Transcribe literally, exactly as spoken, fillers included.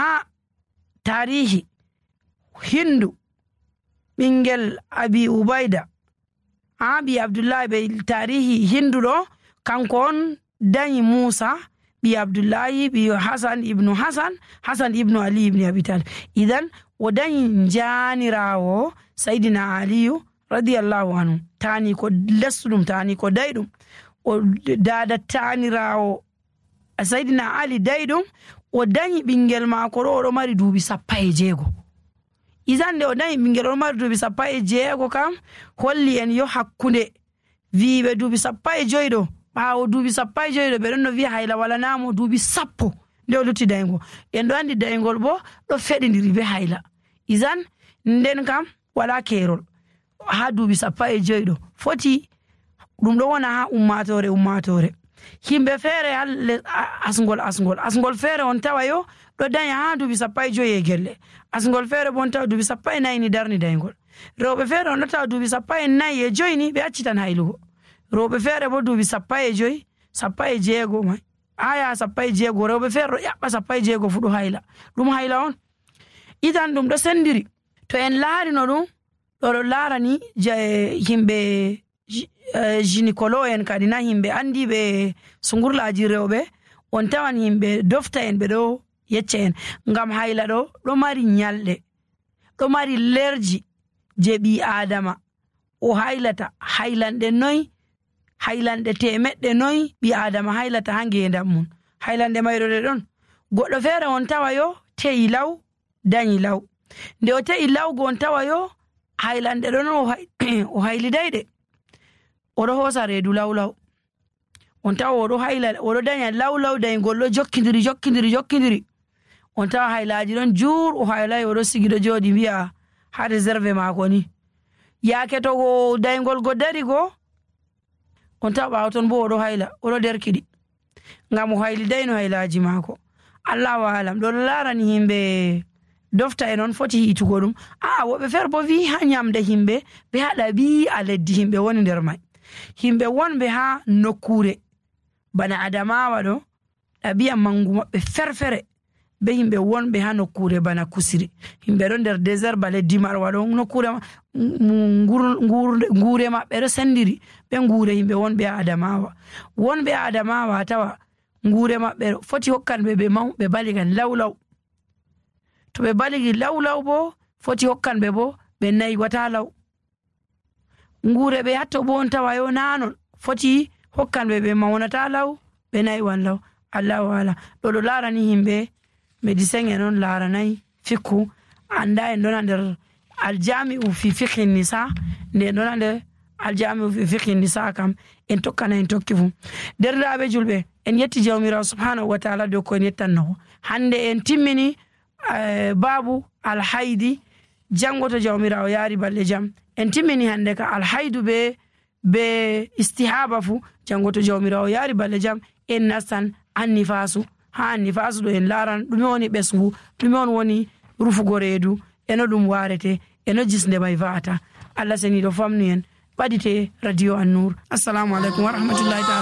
Haa taarihi Hindu, ɓinngel Abi Ubayda, haa ɓii Abdullahi, ɓe taarihi Hindu ɗo, kanko on dañi Muusa, ɓii Abdullahi, ɓii Hasan ibnu Hasan, Hasan ibnu Ali ibni Abi Talib. Idan, o dañi njaaniraawo Saydina Aliyu, radiyallahu anhu. Taani ko lesɗum, taani ko dayɗum. O daada taaniraawo Saydina Ali dayɗum, o dañi ɓinngel maako ɗo, oɗo mari duuɓi sappo e jeego. Idan, nde o dañi ɓinngel, oɗo mari duuɓi sappo e jeego kam, holli en yo hakkunde wiiɓe duuɓi sappo e joy ɗo, ɓaawo duuɓi sappo e joy ɗo, ɓe ɗon no wiya hayla walanaa mo duuɓi sappo nde o lutti dayngol. En ɗo anndi dayngol bo ɗo feɗindiri be hayla. Idan, nden kam walaa keerol. Haa duuɓi sappo e joy ɗo foti, ɗum ɗo wona haa ummaatoore, ummaatoore. Yimɓe feere haa le-, a-, asngol, asngol, asngol feere on tawa yo ɗo daña haa duuɓi sappo e joy e gelle. Asngol feere bo on tawa duuɓi sappo e nayi ni darni dayngol. Rewɓe feere on ɗo tawa duuɓi sappo e nayi e joy ni ɓe accitan haylugo. Rewɓe feere bo duuɓi sappo e joy, sappo e jeego may. Haa yaha sappo e jeego, rewɓe feere ɗo ƴaɓɓa sappo e jeego fu ɗo hayla. Ɗum hayla on. Idan ɗum ɗo sendiri. To en laarino ɗum, ɗo ɗo laarani ja-, yimɓe ji-, eh, gynécologue en kadi na yimɓe anndiiɓe sungurlaaji rewɓe, on tawan yimɓe dofta en ɓe ɗo yecca en. Ngam hayla ɗo, ɗo mari ñalɗe, ɗo mari leerji je ɓii Aadama. O haylata haylanɗe noy, haylanɗe teemeɗɗe noy ɓii Aadama haylata haa ngeendam mum. Haylanɗe mayre ɗe ɗon. Goɗɗo feere on tawa yo te'i law, dañi law. Nde o te'i law go on tawa yo haylanɗe ɗon o hay-, o hayliday ɗe. Oɗo hoosa reedu law law. On tawa oɗo hayla, oɗo daña law law, dayngol ɗo jokkindiri, jokkindiri, jokkindiri. On tawa haylaaji ɗon juur, o haylay, oɗo sigi ɗo jooɗi mbiya haa réserve maako ni. Yaake to go dayngol go dari go, on tawa ɓaawo ton bo oɗo hayla, oɗo derkiɗi. Ngam o haylidayno haylaaji maako. Allahu aalam, ɗo laarani yimɓe dofta en on foti hiitugo ɗum. Aa, woɓɓe feere bo wi'i haa ñamde yimɓe, ɓe haɗa ɓii a leddi yimɓe woni nder may. Yimɓe wonɓe haa nokkuure bana Adamawa ɗo, ɗabi'a manngu maɓɓe ferfere be yimɓe wonɓe haa nokkuure bana Kusiri. Yimɓe ɗo nder désert bale Dimarwa ɗo, nokkuure ma-, ngu-, ngur-, nguure maɓɓe ɗo senndiri be nguure yimɓe wonɓe haa Adamawa. Wonɓe haa Adamawa a tawa nguure maɓɓe ɗo foti hokkan ɓe, ɓe maw-, ɓe baligan law law. To ɓe baligi law law bo, foti hokkan ɓe bo, ɓe naywata law. Nguure ɓe hatto bo on tawa yo naa non. Foti hokkan ɓe, ɓe mawnata law, ɓe naywan law. Allahu aala. Ɗo ɗo laarani yimɓe médecin en on laaranay fikku. Annda en ɗon nder aljami'u fi fiqhi nisa. Nde ɗon nder aljami'u fi fiqhi nisa kam, en tokkana en tokki fu. Derɗiraaɓe julɓe, en yetti Jawmiraawo subhanahu wa taala dow ko en yettanno. Hannde en timmini, eh, baabu alhaydi. Janngo to Jawmiraawo yaari balɗe jam. En timmini hannde ka alhaydu be, be istihaba fu. Janngo to Jawmiraawo yaari balɗe jam, en nastan annifaasu. Haa annifaasu ɗo en laaran ɗume woni ɓesngu, ɗume on woni rufugo reedu, e no ɗum waarete, e no jisnde may va'ata. Allah seniiɗo famnu en. Ɓadite Radio Annur. Assalamu alaikum wa rahmatullahi ta'ala.